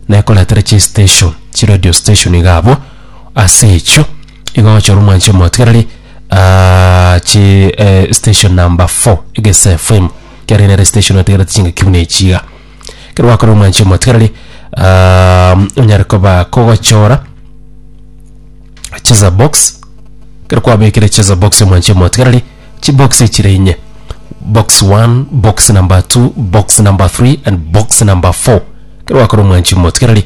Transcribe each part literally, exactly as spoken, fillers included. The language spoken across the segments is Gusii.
Nekoretera chistation, chiradio station iga abwo, ase echio igo ogochora omwanchi omotigereri ah, chi eh, station number four Egesa F M, kere nere station otegerete chingaki buna echi iga. Ekero gwakora, omwanchi omotigereri, ah, onyare koba kogochora cheza box. Ekero kwabekire cheza box, omwanchi omotigereri, chibox echire inye: box one, box number two, box number three and box number four. Ekero gwakora, omwanchi omotigereri,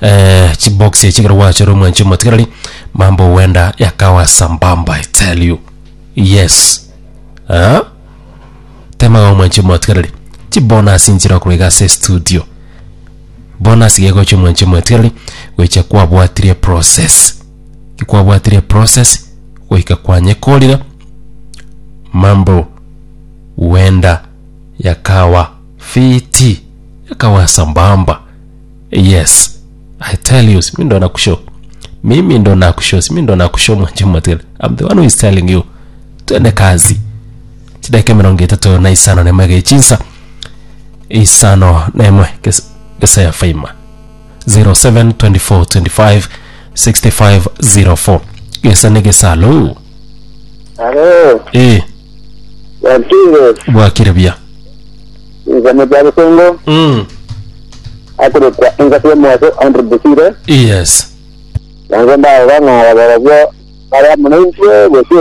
eh, chibox echi ekero gwachora, omwanchi omotigereri, mambo huenda yakawa sambamba, I tell you. Yes, ah? Temaga, omwanchi omotigereri, chibonus nchire okorwa iga ase studio. Bonus gegocha, omwanchi omotigereri, goicha kwabwatirie process. Kikwabwatirie process goika kwanyekorire, mambo huenda yakawa fiti, yakawa sambamba. Yes, I tell you, mi ndo nakushow, mimi ndo nakushow, mi ndo nakushow, mwanchi omotigereri. I'm the one who is telling you. Twende kazi. Chidakika mirongo itatu na isano nemwe gechinsa isano nemwe gesa ya faima zero seven twenty-four twenty-five sixty-five zero four. Gesa ni gesalo. Alo, eh wakire, bwakire bia. Nzame bya Busengo, mm. akurikwa engasi y'omwaso Andrew Busire, yes yange ndarora ng'a barabwo baria muno intwe gose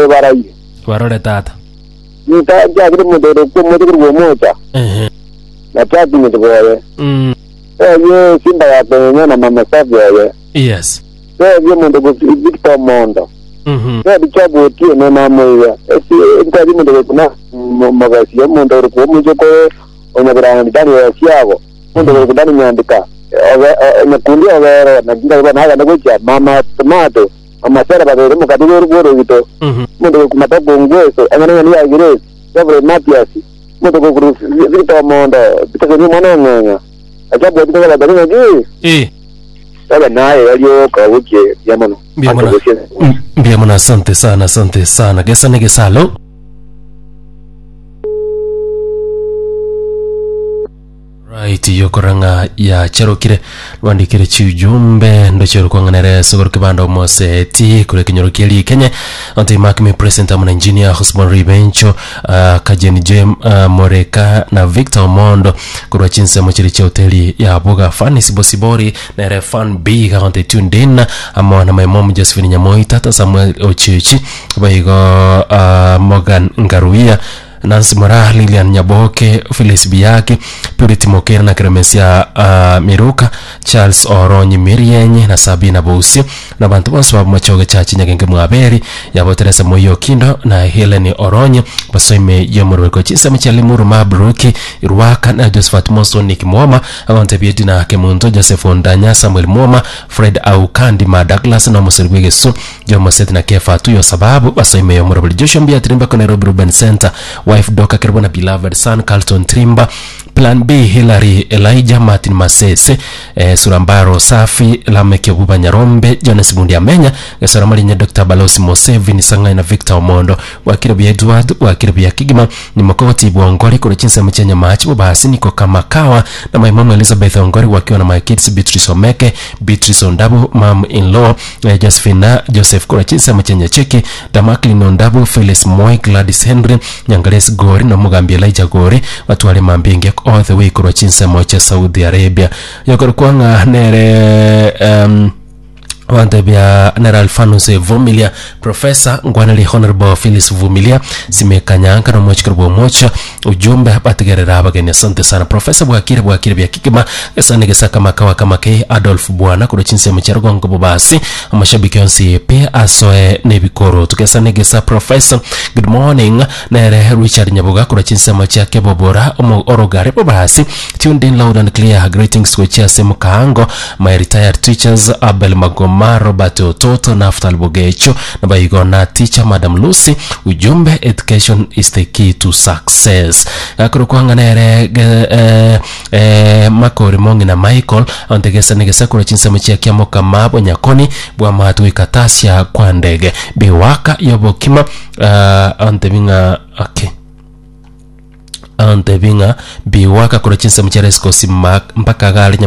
ya barayi. Barore tata. Nita jagire mudoro ko mudo ko mocha, ehe na tati boye. mm. Oye simba ya kwenye na mama safi oye. yes Oye mundu ko Victor Mondo. mhm Ya bichabu otie no na moya. Esi nkali mundu ko na magasi ya mundu ko mujo ko onyabiranga ndani ya siago. Mundu ko ndani nyandika. Obe nyakundi obere na ginga ba naga nagocha mama tomato. Mama sera babere mukadire rugoro gito. mhm Mundu ko matako ngweso angana ni ya gire. Reverend Matias. Mundu ko Victor Mondo. Bitako ni mwana ng'anga. Ajabu bitako la bari ngi. eh Sasa naye walioka wuke yamono. Mbia muno. Mbia muno, asante sana, asante sana. Gesa ni gesalo. Right, yokoranga ya cherokire rwandikire chiujumbe ndochero kwang'anere sogoro kibanda omoseti kure kinyoro kieli Kenya onte mark me present amuna engineer Husband Ribencho, uh, Kajen Jem, uh, Moreka na Victor Omondo kurwa chinsemo chiri cha hoteli ya Boga Fanis Bosibori nere fan B kaonte tuned in amo na my mom Josephine Nyamoi, tata Samuel Ochichi, baigo uh, Morgan Ngaruia, Nancy Mora, Lilian Nyaboke, Phyllis Biaki, Purity Mokera na Kremesia uh, Miruka, Charles Oronyi Mirienyi na Sabina Bosi na bantu bonse bamumachoge cha Chinyagenge Mwaberi yabo Teresa Moyo Kindo na Helen Oronyi basoime yomurweko chinsemo cha Limuru Mabruki Irwaka na Josephat Monson Nick Mwoma abante Biedina Kemunto Joseph Ondanya Samuel Mwoma Fred Aukandi ma Douglas na Musiri Bwegesu Jomo Seth na Kefa Tuyo sababu basoime yomurweko Joshua Mbia Trimba ko Nairobi Ruben Center, wife Doka Kerbo na beloved son Carlton Trimba, Plan B Hillary Elijah Martin Masese, eh, Surambaro Safi Lameke Buba Nyarombe Jones Bundi Amenya Gesora Marinya Doctor Balosi Museveni Sangai na Victor Omondo wakire bya Edward wakire bya Kigima ni Mokoti Bwongori kule chinsa mchenya machi basi niko kama kawa na my mom Elizabeth Ongori wakiwa na my kids Beatrice Omeke, Beatrice Ondabu, mom in law eh, Josephine Joseph kule chinsa mchenya cheki Damaklin Ondabu, Phyllis Moi, Gladys Henry Nyangales Gori na Mugambi Elijah Gori watwale mambinge all the way kurwa chinsemo cha Saudi Arabia yokoro kwanga nere um, wantebia nera Alfanus Vumilia, Professor Ngwaneli, Honorable Phyllis Vumilia simekanyanka no mochikoro bwa mocha ujumbe batigerera abageni. Asante sana Professor, bwakire bwakire bya kikima gesane gesaka makawa kama ke Adolf Bwana kuro chinsemo cha rugongo bobasi amashabiki yonsi pe asoe nebikoro tukesane gesa. Professor, good morning. Nere Richard Nyabuga kuro chinsemo cha kebobora omo orogare bobasi tuned in loud and clear. Greetings to Chiase Mukaango, my retired teachers Abel Magoma, Robert Ototo, Naftali Bogecho na baigona teacher Madam Lucy. Ujumbe, education is the key to success. Gakuru kwanganere eh, eh, Makori Mongi na Michael ontegesa negesa kura chinsemo chia kiamoka mabo nyakoni bwa matu ikatasia kwa ndege biwaka yobokima uh, ontebinga okay antebinga biwaka kura chinsemo cha rescosi mpaka gali.